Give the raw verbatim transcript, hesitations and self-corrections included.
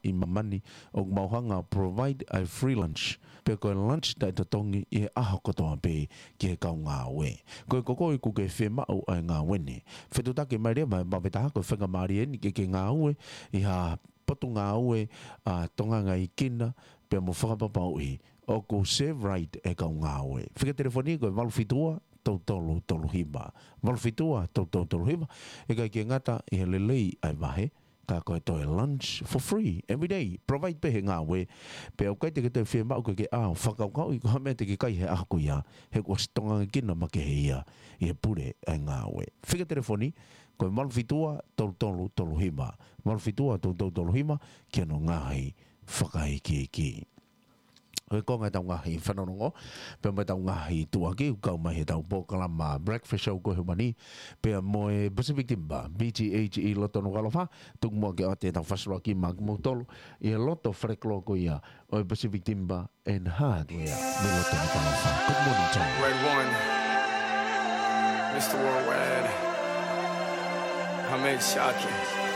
ʻi māmani, ʻoku mau hanga ʻo provide ʻa e free lunch, pe ko e lunch taʻetotongi ʻi he ʻaho kotoa pē ki he kau ngāue. Ko e, ko koe ʻoku ke fiemaʻu ʻa e ngāue ni, fetuʻutaki mai leva mo e maʻu pē taha ko e faingamālie eni ke ke ngāue ʻi ha potungāue ʻa e tongangaʻi kina, pea mo fakapapauʻi ʻoku serve right e kau ngāue. Fika telefoni ko e valu fitu ua tolu tolu tolu hiva. Valu fitu ua tolu tolu tolu hiva. ʻIkai ke ngata ʻi he lelei ʻa e vahe, ka ko e toe lunch for free every day. Provide pē he ngāue. Pea ʻoku ʻikai te ke toe fiemaʻu ke ke ʻā ʻo fakakaukauʻi ko ha meʻa te ke kai he ʻaho ko ia, he kuo ʻosi tongangaʻi kina makehe ia ʻi he pule ʻa e ngāue. Fika telefoni ko e valu fitu ua tolu tolu tolu hiva. Valu fitu ua tolu tolu tolu hiva, ki hono ngaahi fakaikiiki. Ko e konga ʻetau ngaahi fanongonongo, pea mo ʻetau ngaahi tuʻuaki, ʻoku kau mai heʻetau polokalama Breakfast Show ko e ʻaho ni, pea mo e Pacific Timber, B T H E Loto Nukuʻalofa, tuku muʻa ke ʻoatu ʻetau fakasolokaki maʻa kimoutolu ʻi he loto falekoloa ko ia ʻo e Pacific Timber and Hardware mei loto Nukuʻalofa. Good morning, Tom. Red One, Mister Worldwide, Hamed Shaki.